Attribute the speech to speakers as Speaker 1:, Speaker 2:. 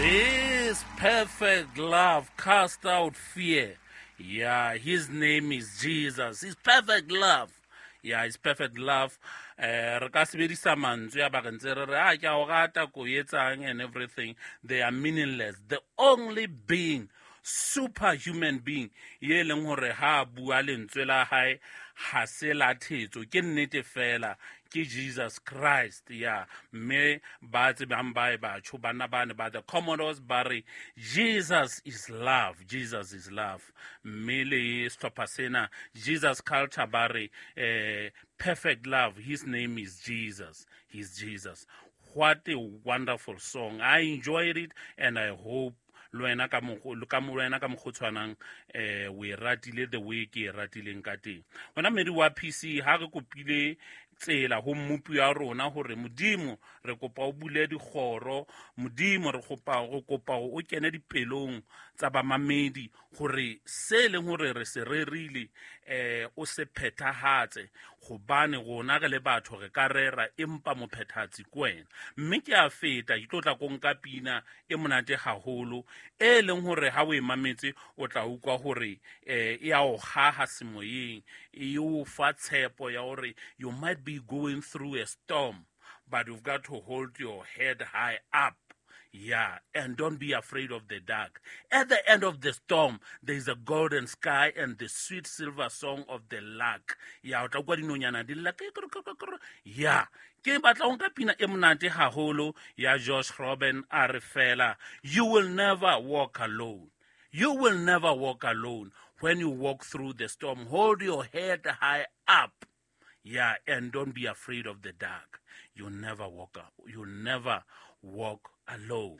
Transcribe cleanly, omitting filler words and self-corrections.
Speaker 1: This perfect love cast out fear. Yeah, his name is Jesus. His perfect love. Yeah, his perfect love. Re ka sebedisa mantswe a ba re ntse re re a ke a o rata ko etsang and everything. They are meaningless. The only being, superhuman being, ye leng hore ha a bua lentswe la hae ha se la thetso, ke nnete fela, ke Jesus Christ. Yeah, mme ba tsebang ba e batho bana ba ne ba the Commodores ba re Jesus is love, Jesus is love. Mme le sehlopha sena Jesus Culture ba re perfect love, his name is Jesus, he's Jesus. What a wonderful song. I enjoyed it and I hope le wena ka wena ka mokgo tshwanang o e ratile the way ke e ratileng ka teng. Wena mmedi wa PC, ha re kopile tsela ho mmopi wa rona hore Modimo re kopa o bule dikgoro, Modimo re kopa o kene dipelong tsa bamamedi hore se leng hore re se rerile o se phethahatse, hobane rona re le batho re ka rera empa mophethahatsi ke wena. Mme ke a feta ke tlo tla ko nka pina e monate haholo e leng hore ha o e mametse o tla utlwa hore e a o haha semoyeng, e o fa tshepo ya hore you might be going through a storm, but you've got to hold your head high up. Yeah, and don't be afraid of the dark. At the end of the storm, there is a golden sky and the sweet silver song of the lark. Yeah, o tla utlwa dinonyana di lla, ke. Yeah, ke batla ho nka pina e monate haholo ya Josh Groban a re fela, you will never walk alone. You will never walk alone. When you walk through the storm, hold your head high up. Yeah, and don't be afraid of the dark. You never walk up. You never walk alone.